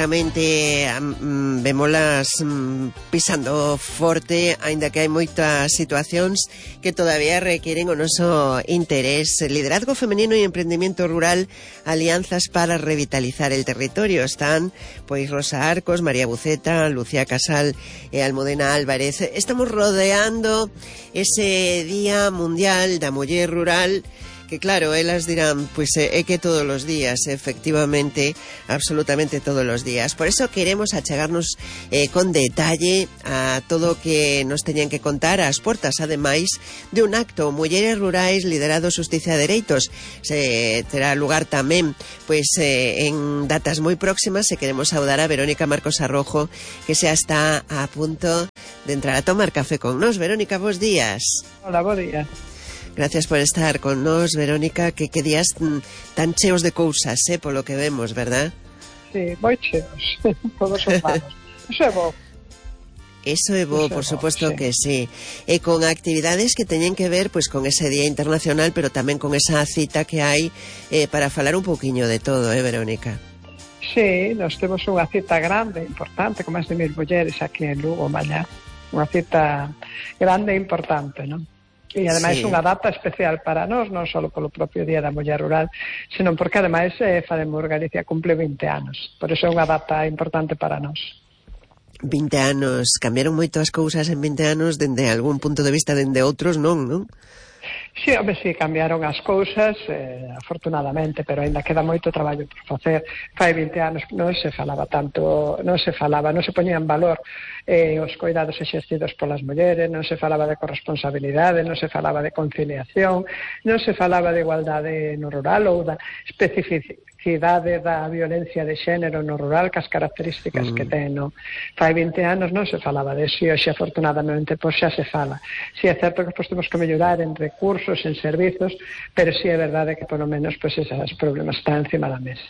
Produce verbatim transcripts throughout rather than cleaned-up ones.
Realmente um, vémolas um, pisando forte, aínda que hai moitas situacións que todavía requieren o noso interés. Liderazgo femenino e emprendimiento rural, alianzas para revitalizar el territorio. Están, pois, Rosa Arcos, María Buceta, Lucía Casal e Almudena Álvarez. Estamos rodeando ese Día Mundial da Muller Rural, que claro, elas dirán, pois pues, é que todos os días, efectivamente, absolutamente todos os días. Por eso queremos achegarnos eh, con detalle a todo o que nos teñan que contar ás portas, ademais de un acto Mulleres Rurais liderado Xustiza e Dereitos. Se terá lugar tamén pois eh, en datas moi próximas, e queremos saudar a Verónica Marcos Arrojo, que xa está a punto de entrar a tomar café con nós. Verónica, bos días. Hola, bos días. Gracias por estar con nos, Verónica, que que días tan cheos de cousas, eh, polo que vemos, verdad? Sí, moi cheos, todos son malos. Iso é bo. Eso é bo, por suposto que sí. E con actividades que teñen que ver pois con ese Día Internacional, pero tamén con esa cita que hai eh, para falar un pouquiño de todo, eh, Verónica? Sí, nós temos unha cita grande, importante, con máis de mil mulleres aquí en Lugo, mañá. Unha cita grande e importante, non? E ademais sí, unha data especial para nós, non só polo propio Día da Muller Rural, senón porque ademais eh, Fademos Galicia cumple vinte anos. Por iso é unha data importante para nós. vinte anos, cambiaron moito as cousas en vinte anos, dende algún punto de vista, dende outros non, non? Sí, home, sí, cambiaron as cousas, eh, afortunadamente, pero ainda queda moito traballo por facer. Fai vinte anos non se falaba tanto, non se falaba, non se poñía en valor eh, os coidados exercidos polas mulleres, non se falaba de corresponsabilidade, non se falaba de conciliación, non se falaba de igualdade no rural ou da especificidade da violencia de xénero no rural, cas características mm. que ten, no? Fai vinte anos non se falaba de eso, e hoxe afortunadamente pois xa se fala. Si é certo que pois temos que mellorar en recursos, en servizos, pero si é verdade que polo menos pois esos problemas están encima da mesa.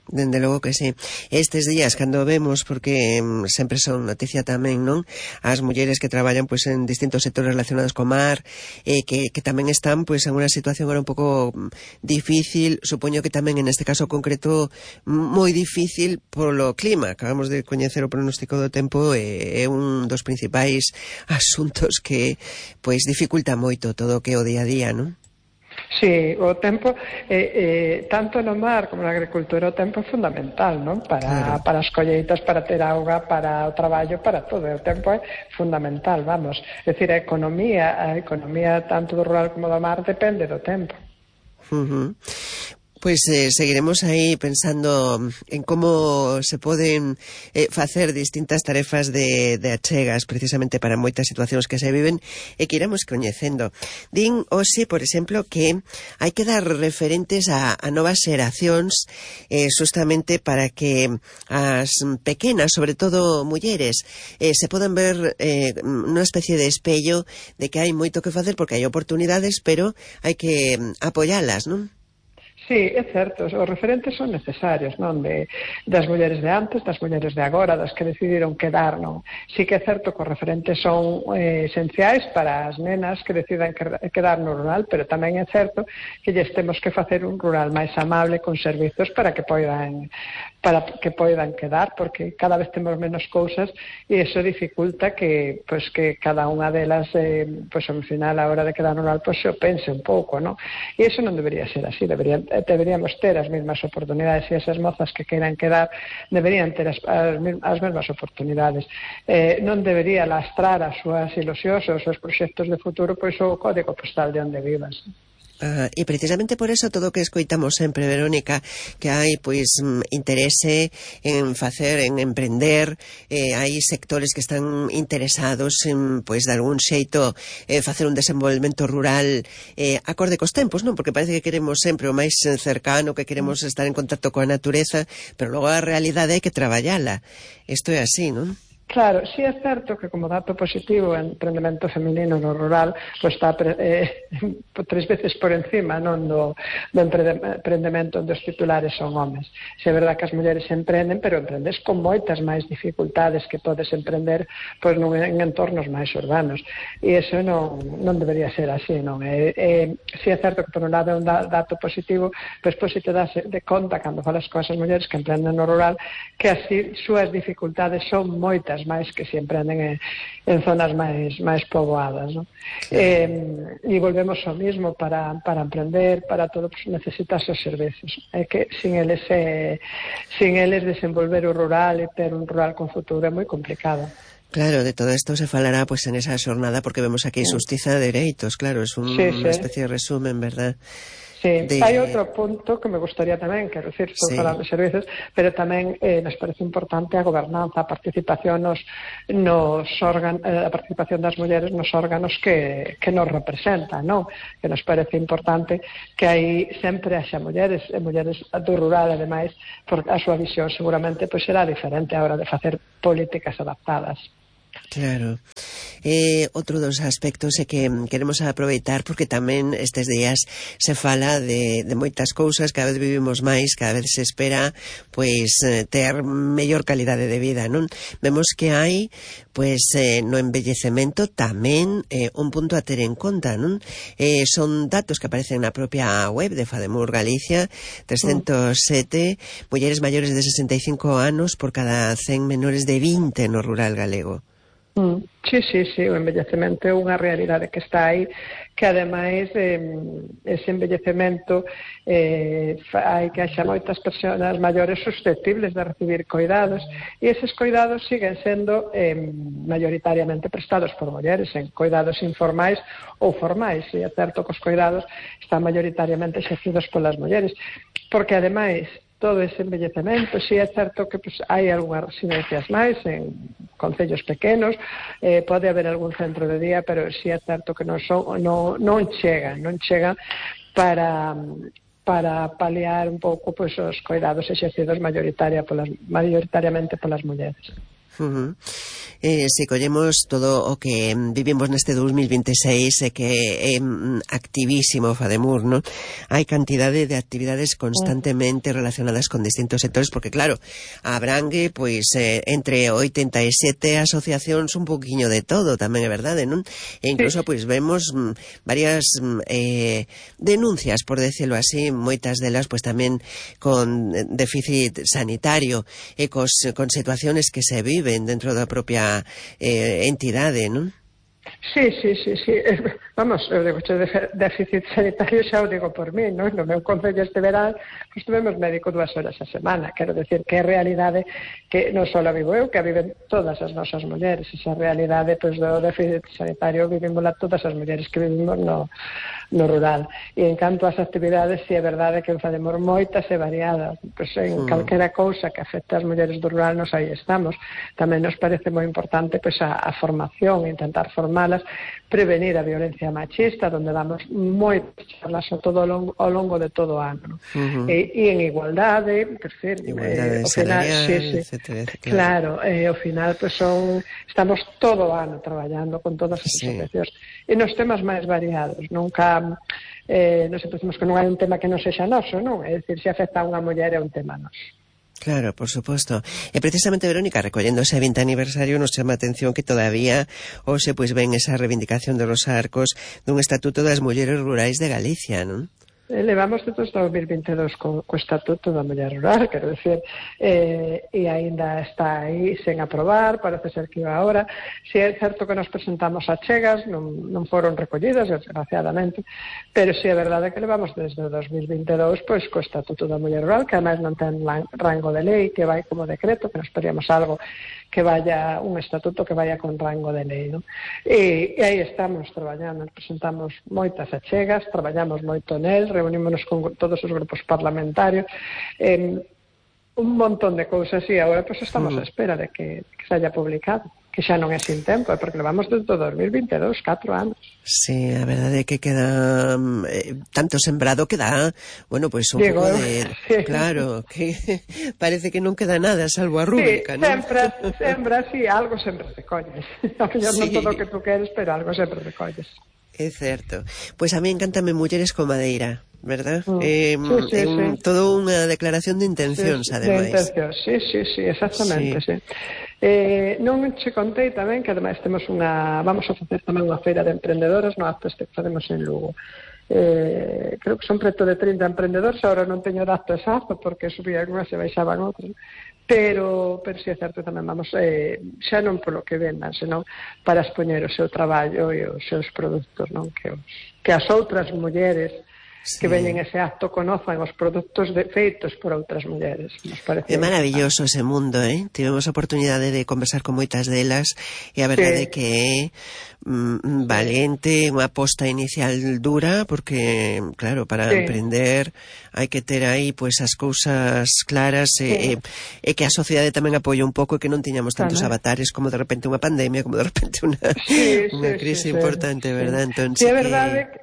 Dende logo que sí. Estes días, cando vemos, porque um, sempre son noticia tamén, non? As mulleres que traballan pois en distintos sectores relacionados co mar, eh, que, que tamén están pois en unha situación agora un pouco difícil, supoño que tamén en este caso concreto moi difícil polo clima. Acabamos de coñecer o pronóstico do tempo, e é un dos principais asuntos que pois dificulta moito todo o que é o día a día, non? Sí, o tempo, eh, eh, tanto no mar como na agricultura, o tempo é fundamental, non? Para, claro, para as colleitas, para ter auga, para o traballo, para todo. O tempo é fundamental, vamos. É dicir, a economía, a economía tanto do rural como do mar depende do tempo. Uh-huh. Pois eh, seguiremos aí pensando en como se poden eh, facer distintas tarefas de, de achegas precisamente para moitas situacións que se viven e que iremos coñecendo. Din hoxe, por exemplo, que hai que dar referentes a, a novas xeracións eh, justamente para que as pequenas, sobre todo mulleres, eh, se podan ver eh, unha especie de espello de que hai moito que facer porque hai oportunidades, pero hai que apoialas, non? Sí, é certo, os referentes son necesarios, non? De, das mulleres de antes, das mulleres de agora, das que decidiron quedar, non? Sí que é certo que os referentes son eh, esenciais para as nenas que decidan quedar no rural, pero tamén é certo que lles temos que facer un rural máis amable con servizos para que poidan para que poidan quedar, porque cada vez temos menos cousas e iso dificulta que, pues, que cada unha delas, eh, pues, ao final, a hora de quedar no rural, pues, se o pense un pouco, non? E iso non debería ser así, deberían deberíamos ter as mesmas oportunidades, e esas mozas que queiran quedar deberían ter as, as, as mesmas oportunidades. Eh, non debería lastrar as súas ilusións, os seus proxectos de futuro, pois o código postal de onde vivas. Ah, e precisamente por eso todo o que escoitamos sempre, Verónica, que hai pois interese en facer, en emprender, eh, hai sectores que están interesados en, pois, de algún xeito eh, facer un desenvolvemento rural eh, acorde cos tempos, non? Porque parece que queremos sempre o máis cercano, que queremos estar en contacto coa natureza, pero logo a realidade hai que traballala. Isto é así, non? Claro, sí é certo que como dato positivo o emprendemento feminino no rural pues está eh, tres veces por encima non do, do emprendemento onde os titulares son homes. Se é verdade que as mulleres emprenden, pero emprendes con moitas máis dificultades que podes emprender pues, non, en entornos máis urbanos. E iso non, non debería ser así, non? E, e, si é certo que por un lado é un dato positivo, pois pues, si te das de conta cando falas con esas mulleres que emprenden no rural que así súas dificultades son moitas máis que se emprenden en, en zonas máis máis poboadas, ¿no? Sí. Eh, e volvemos ao mismo para, para emprender, para todo, pues, necesitas os servicios. É que sin eles eh, sin eles desenvolver o rural e ter un rural con futuro é moi complicado. Claro, de todo esto se falará pues en esa xornada porque vemos aquí sí. Xustiza de Dereitos, claro, es un, sí, sí. Unha especie de resumen, verdad? Sí, de... hai outro punto que me gustaría tamén, quero dicir, estou sí. falando de servicios, pero tamén eh, nos parece importante a gobernanza, a participación nos, nos órganos, eh, a participación das mulleres nos órganos que, que nos representan, non? Que nos parece importante que aí sempre haxa mulleres, e mulleres do rural, ademais, porque a súa visión seguramente pois será diferente a hora de facer políticas adaptadas. Claro. Eh, outro dos aspectos é que queremos aproveitar porque tamén estes días se fala de, de moitas cousas, cada vez vivimos máis, cada vez se espera pois ter mellor calidade de vida, non? Vemos que hai pois eh, no envellecemento tamén eh, un punto a ter en conta, non? Eh, son datos que aparecen na propia web de FADEMUR Galicia, trescentos sete mm. mulleres maiores de sesenta e cinco anos por cada cen menores de vinte no rural galego. Mm, sí, sí, sí, o envellecemento é unha realidade que está aí, que ademais eh, ese envellecemento eh, hai que haxa moitas persoas maiores susceptibles de recibir coidados e eses coidados siguen sendo eh, mayoritariamente prestados por mulleres en coidados informais ou formais, e é certo que os coidados están mayoritariamente exercidos polas mulleres, porque ademais todo ese envellecemento, si é certo que pues, hai algunhas residencias máis en concellos pequenos, eh, pode haber algún centro de día, pero si é certo que non, son, non, non chegan, non chegan para, para paliar un pouco pues, os coidados exercidos mayoritaria polas, mayoritariamente polas mulleres. Uh-huh. Eh, se collemos todo o que vivimos neste dos mil vinte e seis e que é activísimo FADEMUR, non? Hai cantidade de actividades constantemente relacionadas con distintos sectores porque claro, abrangue pois eh, entre oitenta e sete asociacións un poquinho de todo, tamén é verdade, non? E incluso pois vemos m, varias m, eh, denuncias, por decirlo así, moitas delas pois tamén con déficit sanitario e cos, con situaciones que se viven dentro da propia eh, entidade, non? Sí, sí, sí, sí. Vamos, eu digo, de déficit sanitario xa o digo por mí, non? No meu concello este verán, pues, tuvemos médico dúas horas a semana. Quero decir que é realidade que non só a vivo eu, que a viven todas as nosas mulleres. Esa realidade, pues, do déficit sanitario vivimos todas as mulleres que vivimos no, no rural. E en canto ás actividades, si é verdade que facemos moitas e variadas. Pues, en mm. calquera cousa que afecte as mulleres do rural, nos aí estamos. Tamén nos parece moi importante pues, a, a formación, intentar formalas, prevenir a violencia machista, donde damos moitas charlas ao, todo, ao longo de todo o ano. Uh-huh. E, e en igualdade, por decir, igualdade eh, salarial, final, sí, sí, etcétera, etcétera. Claro, eh, ao final pues, son, estamos todo o ano traballando con todas as sí. asociacións e nos temas máis variados. Nunca eh, nos pensamos que non hai un tema que non sexa noso, non? É dicir, se afecta a unha muller é un tema noso. Claro, por suposto. E precisamente, Verónica, recollendo ese vinte aniversario, nos chama a atención que todavía hoxe pois ven esa reivindicación de los arcos dun Estatuto das Mulleres Rurais de Galicia, non? Levamos desde dos mil vinte e dous co, co Estatuto da Muller Rural, quero decir, eh, e aínda está aí sen aprobar, parece ser que iba ahora. Si é certo que nos presentamos a chegas, non, non foron recollidas, desgraciadamente, pero si é verdade que levamos desde dos mil vinte e dous pois, co Estatuto da Muller Rural, que además non ten rango de lei, que vai como decreto, que nos pedíamos algo que vaya, un estatuto que vaya con rango de lei, non? E, e aí estamos traballando, presentamos moitas achegas, traballamos moito nel, reunímonos con todos os grupos parlamentarios, eh, un montón de cousas, e agora pues, estamos mm. a espera de que, que se haya publicado. que xa non é sin tempo, é porque levamos desde o dos mil vinte e dous, catro anos. Sí, a verdade é que queda eh, tanto sembrado que dá, bueno, pois pues un Digo, pouco de... sí. Claro, que parece que non queda nada, salvo a rúbrica, sí, non? sempre, sempre, sí, algo sempre recolles. A mellor Sí. non todo o que tú queres, pero algo sempre recolles. É certo. Pois pues a mí encántame Mulleres con Madeira, verdad? Mm. Eh, Sí, sí, é un, sí. todo unha declaración de intencións, sí, ademais. De intencións, sí, sí, sí, exactamente, sí. Sí. Eh, non che contei tamén que ademais temos unha, vamos a facer tamén unha feira de emprendedoras no acto este que facemos en Lugo. Eh, creo que son preto de trinta emprendedores, agora non teño dato exacto porque subía algunhas e baixaban outras, pero, pero si é certo tamén vamos, eh, xa non polo que vendan, senón para expoñer o seu traballo e os seus produtos, non? Que, os, que as outras mulleres Sí. que veñen ese acto conozan os produtos de, feitos por outras mulleres. Nos parece É maravilloso ese mundo, eh? Tivemos a oportunidade de conversar con moitas delas e a verdade é sí. que é mm, valente, unha aposta inicial dura, porque, claro, para sí. emprender hai que ter aí pois as cousas claras e, sí. e, e que a sociedade tamén apoie un pouco e que non tiñamos tantos tamén. avatares como de repente unha pandemia, como de repente unha, sí, unha sí, crise sí, importante, sí. verdad? Entón, sí, que... é verdade que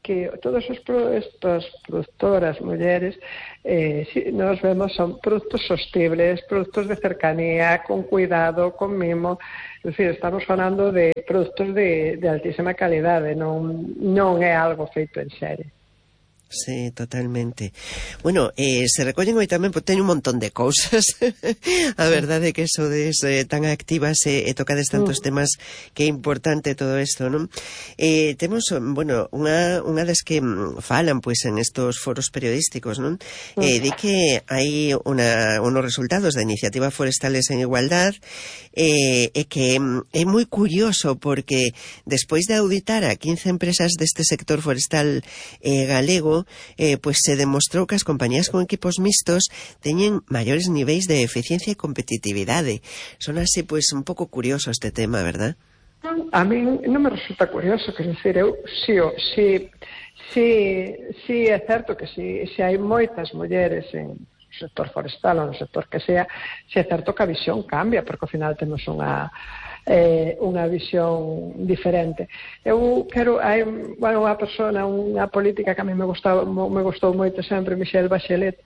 que todas as estas productoras mulleres eh, si, nos vemos son produtos sostibles, produtos de cercanía, con cuidado, con mimo, é dicir, estamos falando de produtos de, de altísima calidade, non, non é algo feito en serie. Sí, totalmente. Bueno, eh, se recollen hoy tamén, pues, teño un montón de cousas. A verdade é que sodes eh, tan activas e eh, tocades tantos mm. temas que é importante todo isto, non? Eh, temos, bueno, unha, unha das que falan, pois, pues, en estos foros periodísticos, non? Mm. Eh, di que hai una, unos resultados da Iniciativa Forestales en Igualdad eh, e que é moi curioso porque despois de auditar a quince empresas deste sector forestal eh, galego, Eh, pues se demostrou que as compañías con equipos mixtos teñen maiores niveis de eficiencia e competitividade. Son así, pues, un pouco curioso este tema, verdad? A mí non me resulta curioso, quer dizer, eu, si, si, si, si é certo que si, si hai moitas mulleres en sector forestal ou no sector que sea, si é certo que a visión cambia, porque ao final temos unha eh, unha visión diferente. Eu quero, hai bueno, unha persona, unha política que a mí me gustou, me gustou moito sempre, Michelle Bachelet,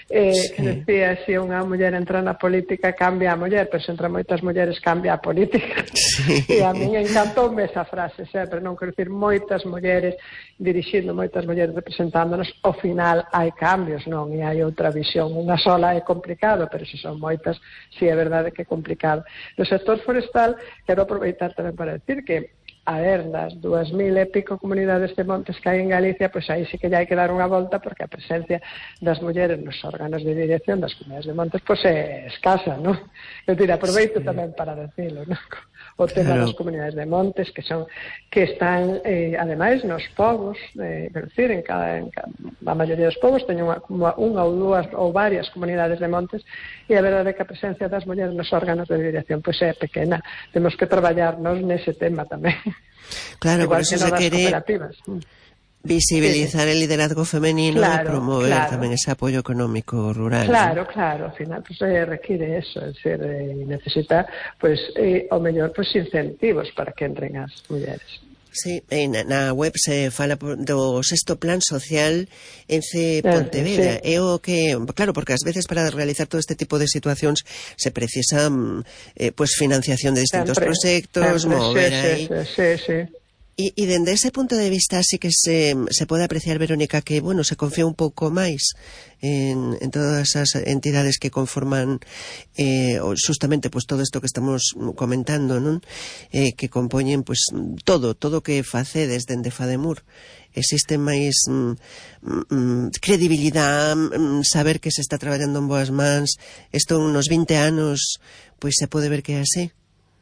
eh, sí. que decía, se unha muller entra na política cambia a muller, pero se entra moitas mulleres cambia a política. Sí. E a mí encantoume esa frase sempre, non quero dicir moitas mulleres dirixindo, moitas mulleres representándonos, ao final hai cambios, non? E hai outra visión, unha sola é complicado, pero se son moitas, si é verdade que é complicado. No sector forestal, quero aproveitar tamén para decir que a ver, das dúas mil e pico comunidades de montes que hai en Galicia, pois aí sí que hai que dar unha volta, porque a presencia das mulleres nos órganos de dirección das comunidades de montes pois é escasa, non? Eu tira, aproveito sí. tamén para decirlo, non? O tema claro. das comunidades de montes que son que están, eh, ademais, nos povos, eh, quero dicir, en cada, en cada, a maioría dos povos teñen unha, unha ou dúas ou varias comunidades de montes e a verdade é que a presencia das mulleres nos órganos de dirección pois é pequena. Temos que traballarnos nese tema tamén. Claro, igual por eso que se quere visibilizar sí, sí. el liderazgo femenino claro, e promover claro. tamén ese apoyo económico rural. Claro, ¿no? claro, ao final pues, eh, require eso, es decir, eh, necesita pues, eh, o mellor pues, incentivos para que entren as mulleres. Sí, na, na web se fala do sexto plan social Ence Pontevedra. Sí. É o que, claro, porque ás veces para realizar todo este tipo de situacións se precisa eh, pues financiación de distintos sempre, proxectos, sempre, mover sí, aí. Sí, sí, sí. E, e dende ese punto de vista sí que se, se pode apreciar, Verónica, que, bueno, se confía un pouco máis en, en todas as entidades que conforman eh, justamente pues, todo isto que estamos comentando, non? Eh, que compoñen pues, todo, todo o que facedes dende Fademur. Existe máis mm, mm, credibilidade, mm, saber que se está traballando en boas mans. Isto nos vinte anos pois se pode ver que é así.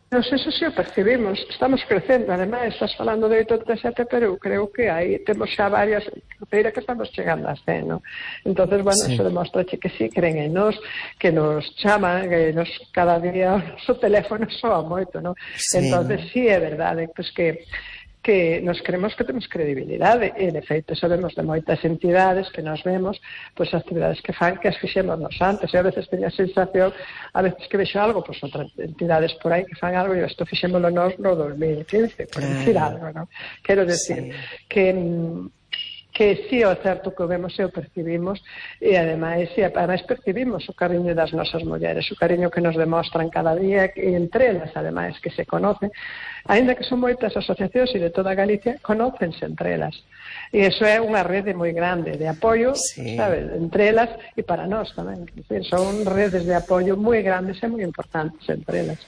Nos, eso sí o percibimos, estamos crecendo, ademais, estás falando de oitenta e sete, pero eu creo que aí temos xa varias, creira que estamos chegando a cen, no? Entonces, bueno, sí. Eso demostra que sí, creen en nos, que nos chaman, que nos cada día o noso teléfono soa moito, no? Sí, entonces, no? Sí, é verdade, pues que que nos creemos que temos credibilidade, e de feito sabemos de moitas entidades que nos vemos, pois as actividades que fan que as fixemos nos antes, e a veces teño a sensación, a veces que vexo algo, pois outras entidades por aí que fan algo, e isto fixémolo nos no dos mil quince, por claro. Decir algo, non? Quero decir, sí. que que si é certo que o vemos e o percibimos, e ademais, e ademais percibimos o cariño das nosas mulleres, o cariño que nos demostran cada día, e entre elas, ademais, que se conocen, aínda que son moitas asociacións e de toda Galicia, conócense entre elas. E iso é unha rede moi grande de apoio, sí. Sabes, entre elas e para nós tamén. Son redes de apoio moi grandes e moi importantes entre elas.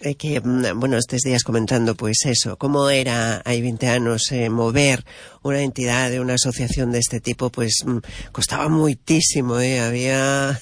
É que, bueno, estes días comentando, pois eso, como era hai vinte anos eh, mover unha entidade, unha asociación deste tipo, pois costaba moitísimo, eh, había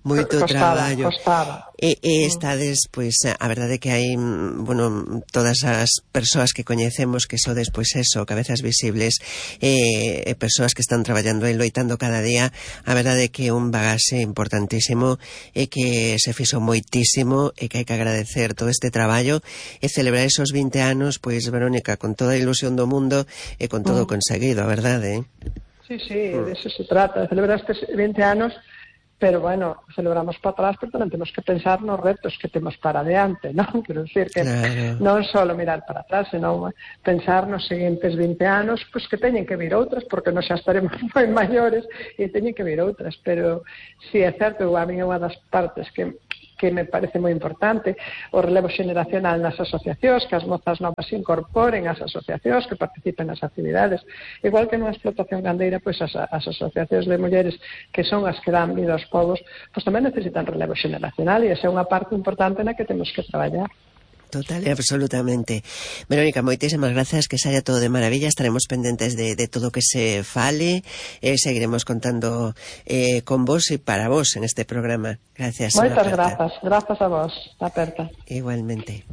moito costaba, traballo. Costaba. E, e estades, pois, a verdade que hai, bueno, todas as persoas que coñecemos que sodes, pois eso, cabezas visibles, e, e persoas que están traballando e loitando cada día, a verdade que é un bagaxe importantísimo e que se fixo moitísimo e que hai que agradecer todo este traballo e celebrar esos vinte anos, pois, Verónica, con toda a ilusión do mundo e con todo mm. conseguido, a verdade, eh? Sí, sí, mm. de eso se trata, de celebrar estes vinte anos. Pero, bueno, celebramos para atrás, pero tamén temos que pensar nos retos que temos para adiante, non? Quero dicir que claro. Non só mirar para atrás, senón pensar nos seguintes vinte anos, pois que teñen que vir outras, porque nós xa estaremos moi maiores e teñen que vir outras. Pero, si é certo, a mí é unha das partes que que me parece moi importante, o relevo xeneracional nas asociacións, que as mozas novas se incorporen ás asociacións, que participen nas actividades. Igual que nunha explotación gandeira, pois as, as asociacións de mulleres, que son as que dan vida aos povos, pois tamén necesitan relevo xeneracional, e esa é unha parte importante na que temos que traballar. Total e absolutamente. Verónica, moitísimas grazas, que saia todo de maravilla, estaremos pendentes de, de todo o que se fale, e seguiremos contando eh, con vos e para vos en este programa. Gracias. Moitas grazas, grazas a vos, aperta. Igualmente.